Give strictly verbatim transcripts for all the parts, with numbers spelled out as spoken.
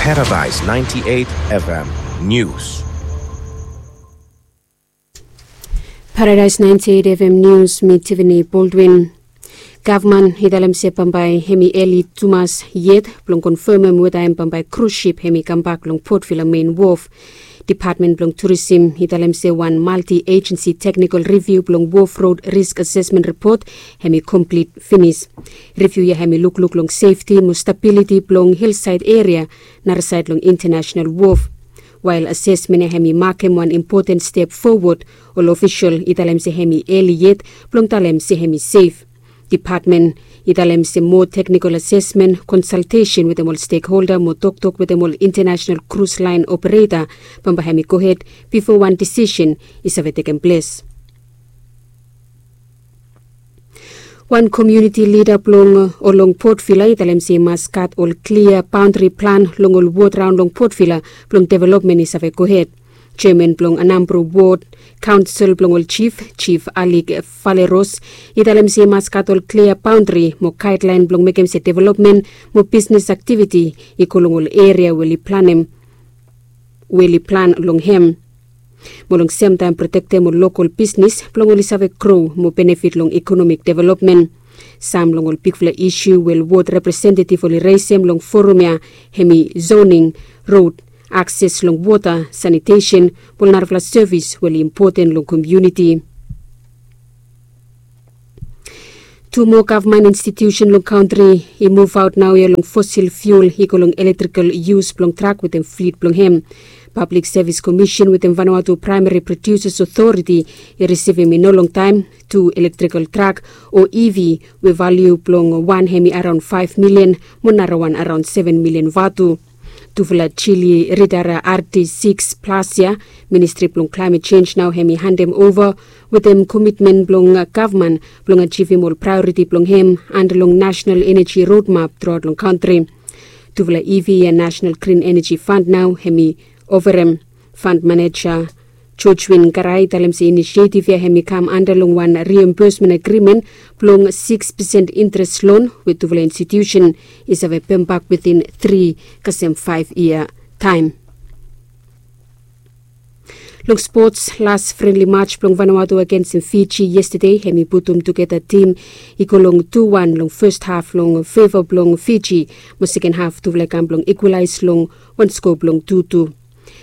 Paradise ninety-eight F M News. Paradise ninety-eight F M News, mi Tiffany Baldwin. Gavman i talem se bambae hemi eli tumas yet blong konfemem weta hem bambae krus sip hemi kambak long Port Vila mein wof. Depatmen blong turisim i talem se wan malti ejensi teknikol riviu blong wof rod risk asesmen ripot hemi komplit finis. Riviu ya hemi lukluk long sefti mo stabiliti blong hilsaed eria narasaed long intenasenal wof. Wael asesmen ya hemi makem wan impoten step fowod, ol ofisol i talem se hemi eli yet blong talem se hemi sef. Depatmen i talem se moa teknikol asesmen, konsaltesen wetem ol stekholda mo toktok wetem ol intenasenal krus laen opereta bambae hemi gohed bifo wan disisen i save tekem ples. Wan komuniti lida blong ol long Port Vila i talem se i mas gat ol klia baondri plan long ol wod raon long Port Vila blong developmen i save gohed. Jeaman blong Anambra Wod Kaonsel blong ol jif, Jif Alik Valeros, i talem se i mas gat ol klia baondri mo gaedlaen blong mekem se developmen mo bisnes aktiviti i go long ol eria we oli planem we oli plan long hem. Mo long semtaem protektem ol lokol bisnes blong oli save gro mo benefit long ikonomik developmen. Sam long ol bigfala isu we ol wod representetiv oli resem long forum ya hemi zoning, rod, akses long wota, sanitesen mo ol narafala sevis we oli impoten long komuniti. Tu moa gavman institiusen long kantri i muvaot naoia long fosil fiul i go long elektrikal yus blong trak wetem flit blong hem. Pablik Sevis Komisen wetem Vanuatu Praemari Prodiuses Otoriti i risivim i no longtaem tu elektrikal trak o E V we valiu blong wan hemi araon faef milian mo narawan araon seven milian vatu. Tufala jili ridara R D six plus ya, Ministri blong Klaemet Jenj nao hemi handem ova wetem komitmen blong gavman blong ajivim ol praeoriti blong hem anda long Nasenal Eneji Rodmap truaot long kantri. Tufala E V ya Nasenal Grin Eneji Fand nao hemi ovarem. Fand maneja Jojwin Garai i talem se inisietiv ya hemi kam anda long wan riembesmen agrimen blong sikis pesen interes lon we tufala institiusen i save pembak witin tri kasem faef yia taem. Long spots, las frenli maj blong Vanuatu agensem Fiji yestade hemi putum tugeta tim i go long tu wan long fes haf long feva blong Fiji, mo seken haf tufala i kam blong ikwalaes long wan skoa blong tu tu.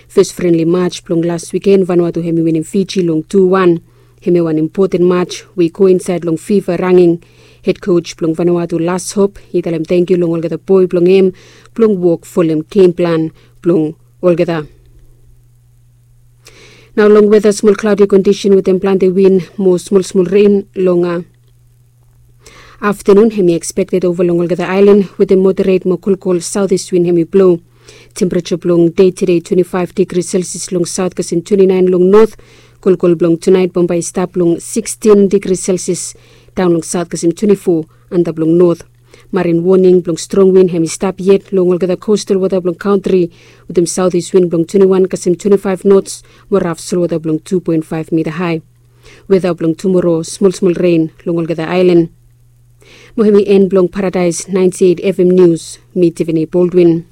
Fes frenli maj blong las wiken Vanuatu hemi winim Fiji long tu wan. Hemi wan impoten maj we i go insaed long fifa ranging. Hed koj blong Vanuatu Las Hop i talem tangkiu long olgeta boe blong hem blong wok folem gem plan blong olgeta. Nao long weta, smol klaodi kondisen wetem plante win mo smol smol ren long aftanun hemi ekspekted ova long olgeta aelan wetem moderet mo kolkol saotis win hemi blo. Tempereja blong dei tede twenti faef digri selsias long saot kasem twenti naen long not. Kolkol blong tunaet bambae i stap long sikstin digri selsias daon long saot kasem twenti fo antap long not. Marin woning blong strong win hemi stap yet long olgeta kostal wota blong kantri wetem saotis win blong twenti wan kasem twenti faef nots mo raf solwota blong tu poen faef mita hae. Weta blong tumoro, smol smol ren long olgeta aelan. Mo hemi en blong Paradaes naenti eit F M Nius, mi Tivini Boldwin.